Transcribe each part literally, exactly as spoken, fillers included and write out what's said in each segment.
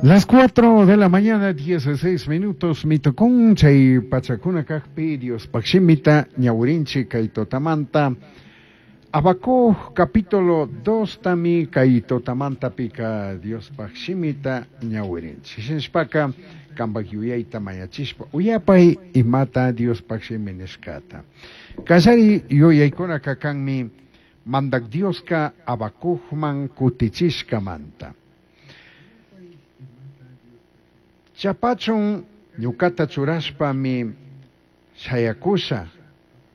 Las cuatro de la mañana, dieciséis minutos, mitocon, chay pachakuna kajpi, Dios pakshimita, ñawirinchi kay tutamanta, Habacuc capítulo dos tami kay tutamanta pika Dios pakshimita ñawirinchi. Shinashpaka, kambak yuyayta mayachishpa, uyapay imata Dios pakshimi nishkata. Kallari yuyaykuna kakanmi, mandak Dioska Habacucman kutichishkamanta. Chapachun ñukata churashpami shayakusha,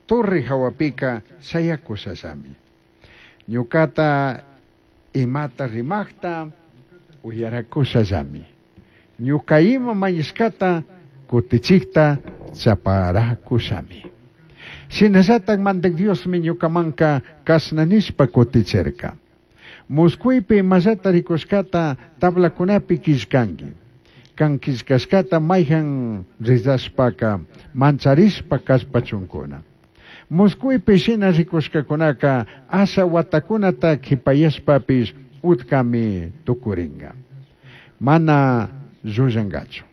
torre hawapika shayakushallami. Ñukata imata rimakta uyarakushallami. Ñuka ima mañishkata kutichikta chaparakushami. Shinallatak mandak Diosmi ñukamanka kashna nishpa kutichirka. Muskuipi imallata rikushkata tablakunapi killkanki. Kan killkashkata mayhan rizashpaka mancharishpa kallpachunkuna. Muskuipi shina rikushkakunaka asha watakunata kipayashpapish utkami tukuringa. Mana llullankachu.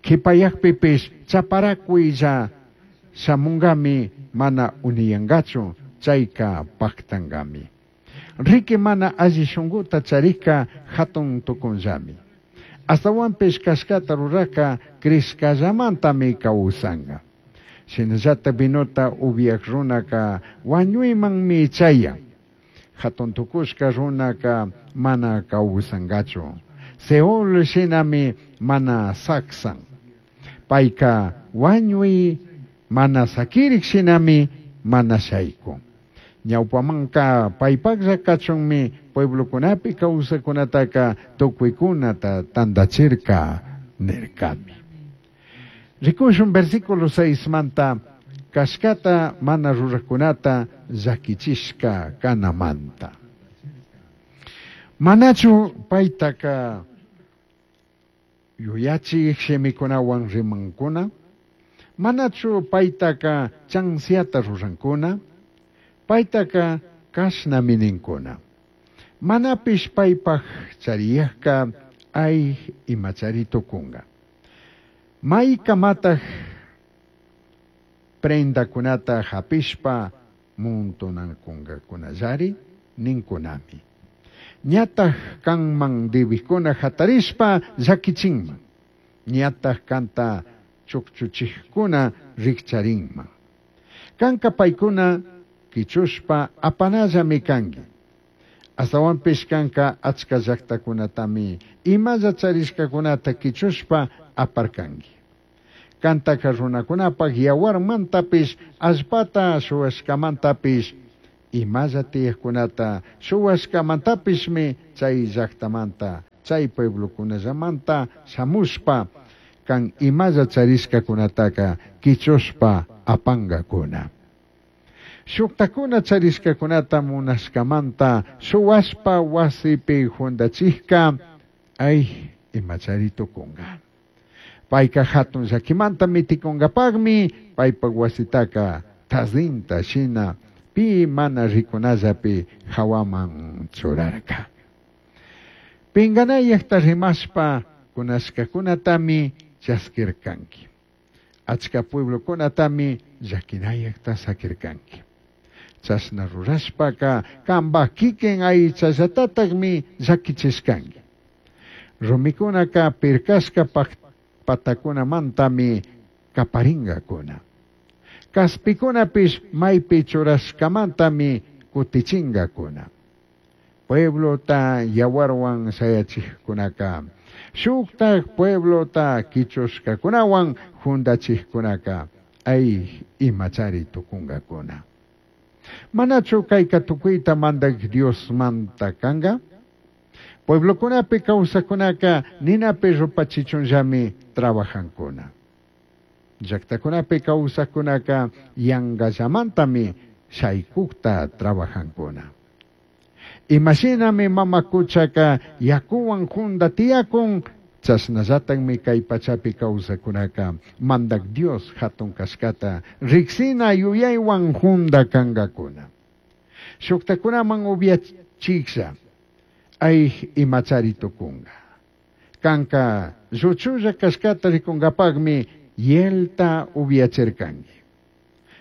Kipayakpipish chaparakuylla shamungami mana uniyankachu chayka paktangami. Riki mana alli shunkuta charika hatun tukunllami. Astawanpish kashkata ruraka crishkallamantami kawsanga. Shinallata vinota upiak runaka wañuymanmi chayan. Hatun tukushka runaka mana kawsangachu. Seol shinami mana saksan. Payka wañuy mana sakirik shinami mana shaykun. Ñawpamanka paypaklla kachunmi pueblokunapi kawsakunataka tukuykunata tantachirka nirkami. Rikushun versículo seis manta kashkata mana rurakunata llakichishka kanamanta. Manachu paytaka yuyachik shimikunawan rimankuna? Manachu paytaka chansiata rurankuna? Paytaka kashnami ninkuna. Manapish paypaj chariyajka ay imachari tukunga. Maykamataq prendakunata hapishpa muntunankungakunallari ninkunami. Ñataq kanman dibikuna hatarishpa llakichinman. Ñataq kanta chukchuchikkuna rikcharinman. Kanka paykuna kichushpa apanallami kanki. Astawanpish kanka achka llaqtakunatami imalla charishkakunata kichushpa aparkanki. Kantaka runakunapaq yawarmantapish allpata shuwashkamantapish imalla tiyaqkunata shuwashkamantapishmi chay llaqtamanta chay pueblokunallamanta shamushpa kan imalla charishkakunataka kichushpa apankakuna. Shuktakuna charishkakunata munashkamanta shuwashpa wasipi juntachikka ay imachari tukunka. Payka hatun llakimanta mitikunkapaqmi paypak wasitaka tazinta shina pi mana rikunallapi hawaman churarka. Pinganayaqta rimashpa kunashkakunatami chaskirkanki. Achka pueblokunatami llakinayaqta sakirkanki. Chashna rurashpaka kanpa kikin aychallatataqmi llakichishkanki. Rumikunaka pirkashka patakunamantami kaparingakuna. Kaspikunapish maypi churashkamantami kutichingakuna. Pueblota yawarwan shayachikkunaka, shuktak pueblota kichushkakunawan juntachikkunaka, ay imachari tukunkakuna. Manachu kayka tukuyta mandak Diosmanta kanka? Pueblokunapi kawsakunaka ninapi rupachichunllami trabajankuna. Llaqtakunapi kawsakunaka yangallamantami shaykukta trabajankuna. Imashinami mama kuchaka yakuwan junta tiyakun, chashnallataqmi kay pachapi kawsakunaka mandak Dios hatun kashkata riksina yuyaywan junta kankakuna. Shuktakunaman upiachiklla ay imachari tukunka. Canca lluchulla cashcata ricungapajmi hielta ubyachircangui.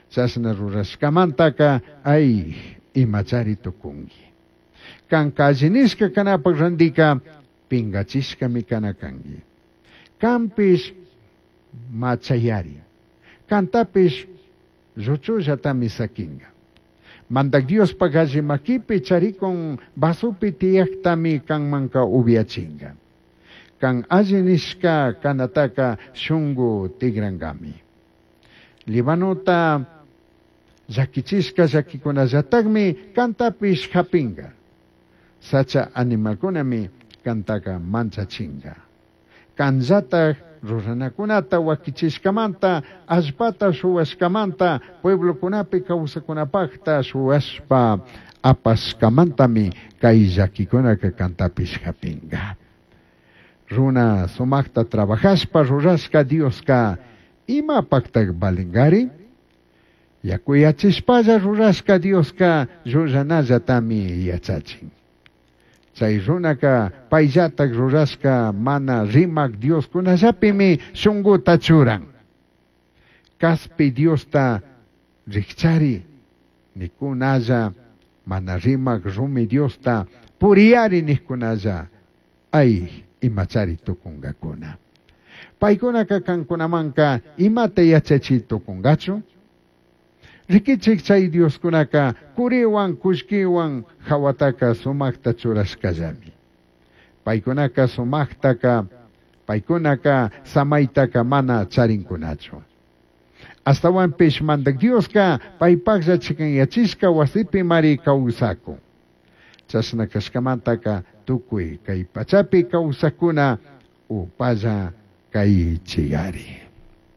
Chashna rurashcamantaca ay imachari tucungui. Canca alli nishca canapaj randica pingachishcami cana cangui. Canpish machayari. Cantapish lluchullatami saquinga. Mandac Diospaj alli maquipi charicun vasopi tiyajtami canmanca ubyachinga. Can alli nishca canataca shungu tigrangami. Libanota llaquichishca llaquicunallatajmi cantapish japinga. Sacha animalcunami cantaca manchachinga. Canllataj ruranakunata wakichishkamanta, allpata shuwashkamanta, pueblokunapi kawsakunapajta shuwashpa apashkamantami kay llakikunaka cantapish japinga. Runa sumajta trabajashpa rurashka Dioska imapajtaj valingari? Yakuyachishpalla rurashka Dioska llullanallatami yachachin. Chay runaka payllataj rurashka mana rimak Dioskunallapimi shunguta churan. Caspi Diosta rikchari nikunalla mana rimak rumi Diosta puriyari nikunalla ay imachari tukungakuna. Paykunaka kankunamanka imata yachachi tukungachu? Rikichik chay Dioskunaka curiwan kullkiwan hawataka sumajta churashkallami. Paykunaka sumajtaka paykunaka samaitaka mana charinkunachu. Astawanpish Mandak Dioska paypajlla chikanyachishka wasipi mari kawsakun. Chashna kashkamantaka tukuy kay pachapi kawsakuna upalla kaychigari.